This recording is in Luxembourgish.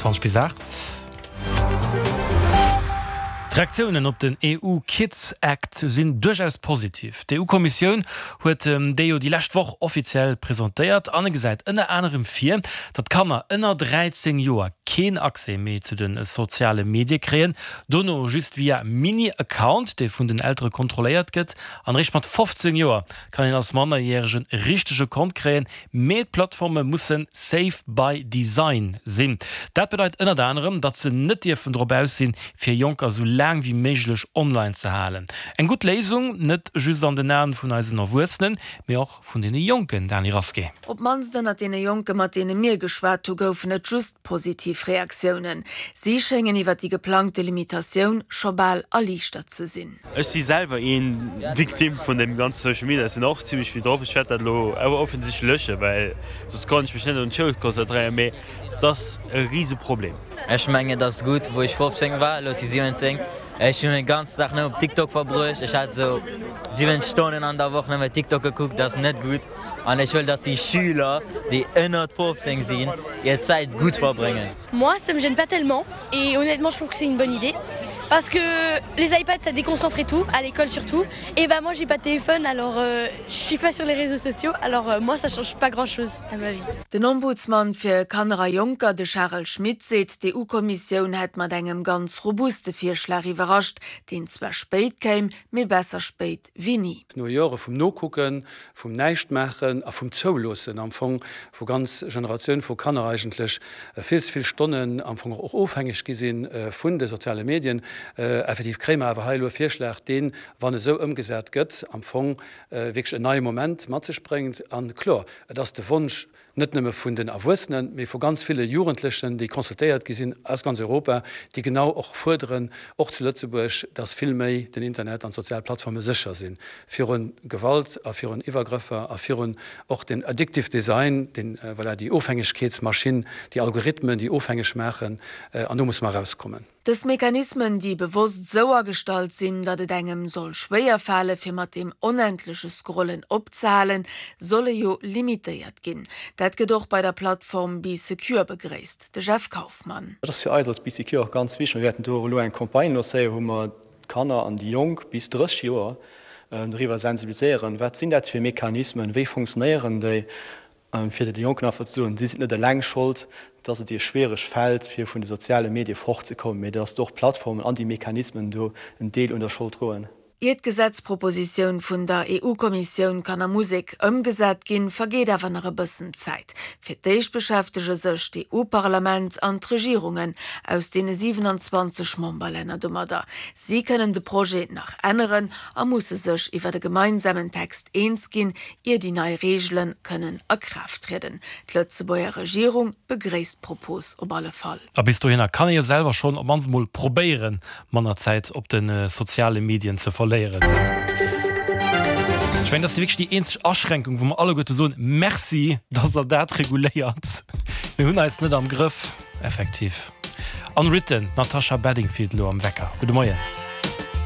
20 bis 8. D'Reaktiounen op den EU Kids Act sinn duerchaus positiv. D'EU-Kommissioun huet dee jo déi lescht Woch offiziell presentéiert an e gesäit ënner anerem vir, datt Kanner ënner 13 Joer keen Accès méi zu de soziale Medie kréien, dono just via Mini-Account, dee vun den Eltere kontrolléiert gëtt. An eréischt mat 15 Joer kann een als Mannerjäregen e richtege Kont kréien, Mee d'Plattforme mussen safe by design sinn. Dat bedeit ënnert anerem, datt se net dierfen drop aus sinn, fir Jonker sou laang wéi méiglech online ze halen. Eng gutt Léisung, net just an den Aen vun eisen Erwuessenen, mee och vun deene Jonken, Dany Rasqué. Op d'mannst ënnert deene Jonke mat deene mir geschwat hu goufen et just positiv Reaktiounen. Si schéngen iwwer déi geplangte Limitatioun scho bal erliichtert ze sinn. Ech si selwer een Victime vun dem ganze Social Media, ech sinn och zimlech vill drop. Ech wäert dat elo awer offensichtlech löschen, well soss kann ech mech net un d'Schoul konzentréieren, mee et ass e rise Problem. Ech mengen et ass gutt, wou ech 15 war, elo si 17, ech hunn den ganzen Dag nëmme op TikTok verbruecht, ech hat esou 7 Stonnen an der Woch nëmme TikTok gekuckt, dat ass net gutt an ech wëll, dass déi Schüler, déi ënnert 15 sinn, hir Zäit gutt verbréngen. Moi ça me gêne pas tellement et honnêtement je trouve que c'est une bonne idée parce que les iPads ça déconcentre et tout, à l'école surtout et bah moi j'ai pas de téléphone alors je suis pas sur les réseaux sociaux alors moi ça change pas grand chose à ma vie. Den Ombudsman fir Kanner a Jonker, de Charel Schmit, seet, d'EU-Kommissioun hätt mat engem ganz robuste Virschlag iwwerrascht, deen zwar spéit kéim, mee besser spéit wéi ni. No Jore vum Nokucken, vum Näischtmaachen a vum Zouloossen am Fong, wou ganz Generatioun vu Kanner eigentlech vill ze vill Stonnen am Fong och ofhängeg gi si vun de soziale Medien, effektiv kréie mer awer hei elo e Virschlag, deen, wann esou ëmgesat gëtt, am Fong wierklech en neie Moment mat sech bréngt. A kloer, et ass de Wonsch net nëmme vun den Erwuessenen, mee vu ganz ville Jugendlechen, déi consultéiert gi sinn aus ganz Europa, déi genau och fuerderen, och zu Lëtzebuerg, dass vill méi den Internet an d'sozial Plattforme sécher si viru Gewalt a virun Iwwergrëffer a virun och den addictive Design, den, voilà, déi Ofhängegkeetsmaschinn, déi Algorithmen, déi ofhängeg maachen. An do musse mer erauskommen. Dës Mechanismen, déi bewosst esou agestallt sinn, datt et engem soll schwéier fale fir mat deem onendleche Scrollen opzehalen, solle jo limitéiert ginn. Dat gëtt och bei der Plattform Bee Secure begréisst. De Jeff Kaufmann. Dat ass fir eis als Bee Secure och ganz wichteg. Mir wäerten do och elo eng Campagne lancéieren, wou mer d'Kanner an déi Jonk bis 30 Joer doriwwer sensibiliséieren, wat sinn dat fir Mechanismen, wéi funktionéieren déi Fir de Jonken einfach ze soen, si sinn net eleng Schold, dass et hir schwiereg fält, fir vun de soziale Medie fortzekommen, mee dass och d'Plattformen an déi Mechanismen do en Deel un der Schold droen. Ier d'Gesetzpropositioun vun der EU-Kommissioun kann a Musek ëmgesat ginn, vergeet awer nach e bëssen Zäit. Fir d'éischt beschäftege sech d'EU-Parlament an d'Regierungen aus deene 27 Memberlänner domadder. Si kënnen de Projet nach änneren a musse sech iwwer e gemeinsamen Text eens ginn, ier déi nei Reegele kënnen a Kraaft trieden. D'Lëtzebuerger Regierung begréisst d'Propos op alle Fall. A bis dohinner kann ee jo selwer schonn op mannst mol probéieren, manner Zäit op de soziale Medien ze verléieren. Ech mengen, dat ass wierklech déi eenzeg Aschränkung, wou mer alleguerte soen, Merci, dass Der dat reguléiert. Mir hunn eis net am Grëff. Effektiv. Unwritten, d'Natasha Bedingfield elo am Wecker. Gudde Moien.